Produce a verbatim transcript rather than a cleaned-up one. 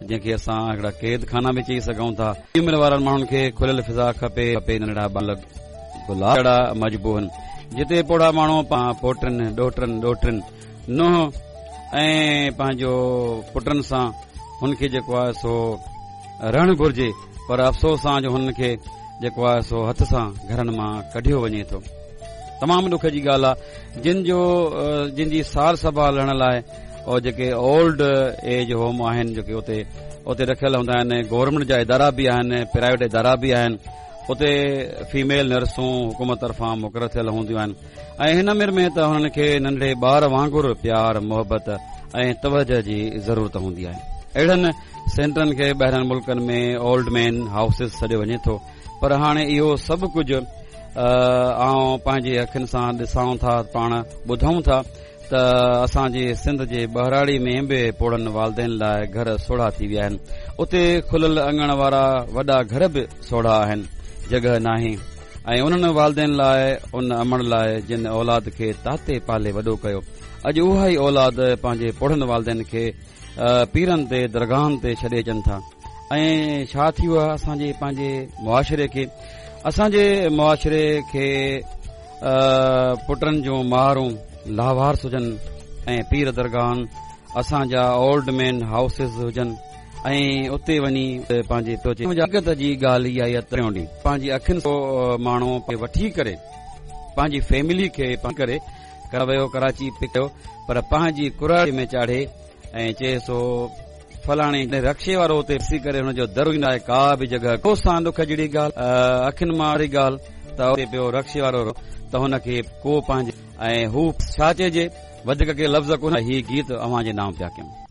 جنهن کي اسان هڪڙا قيد خانا به چئي سگهون ٿا. عمر وارن ماڻهن کي کليل فضا کپي کپي ننڍڙا ٻار گلاب جهڙا مجبور جتي پوڙها ماڻهو پوٽن ڏوهٽن ڏوهٽن ننهن ۽ پنهنجو پٽن سان هن کي جيڪو آهي سو رهڻ گهرجي، پر افسوس سان جو هنن کي جيڪو آهي سو هٿ سان گهرن مان ڪڍيو وڃي ٿو. تمام ڏک جي ڳالهه آهي جن جو جن جي سار سنڀال لهڻ لاءِ اور جيڪي اولڊ ايج هوم آهن جيڪي اتي اتي رکيل هوندا آهن، گورنمينٽ جا ادارا به آهن، پرائيويٽ ادارا به آهن، اتي فيميل نرسون حڪومت طرفان مقرر ٿيل هونديون آهن ۽ هن عمر ۾ ته هنن کي ننڍڙي ٻار وانگر پيار، محبت ۽ توجهه جي ضرورت هوندي آهي. اهڙن سينٽرن کي ٻاهرين ملڪن ۾ اولڊ مين هائوسز سڏيو وڃي ٿو، پر هاڻي اهو سڀ ڪجهه آئون پنهنجي اکين سان ڏسان ٿا، پاڻ ٻڌون ٿا ته اسان جي سنڌ جي ٻهراڙي ۾ به پوڙهن والدين لاءِ گهر سوڙها ٿي ويا آهن. اتي کليل اڱڻ وارا وڏا گهر به سوڙها آهن، جڳهه ناهي ۽ انهن والدين لاءِ، ان امڙ لاءِ جن اولاد کي تاتي پالي وڏو ڪيو، اڄ اها ئي اولاد پنهنجي پوڙهن والدين کي پيرن تي درگاهن تي ڇڏي اچن ٿا. ۽ ڇا ٿي ويو آهي اسان جي پنهنجي معاشري کي؟ اسان جي معاشري کي پٽن جون مارون لاوارث هجن ۽ پير درگاهن اسان جا اولڊ مين هائوسز هجن ۽ اتي وڃي پنهنجي حقيقت جي ڳالهه اها آهي ٽيون ڏينهن پنهنجي اکين ماڻهو وٺي ڪري پنهنجي فيملي کي ڪري ويو ڪراچي پڪ ڪيو، پر پنهنجي ڪراڙي ۾ چاڙهي ۽ چئي سو فلاڻي رڪشي وارو اتي ڏسي ڪري هن جو در ايندو آهي، ڪا به جڳهه ڪو سان ڏک جهڙي ڳالهه اکين مان واري ڳالهه ته اتي پيو رڪشي وارو ته هن کي ڪو پنهنجي ۽ هو ڇا چئجي، وڌيڪ ڪي لفظ ڪونه. هي گيت اوهان جي نام پيا ڪيون.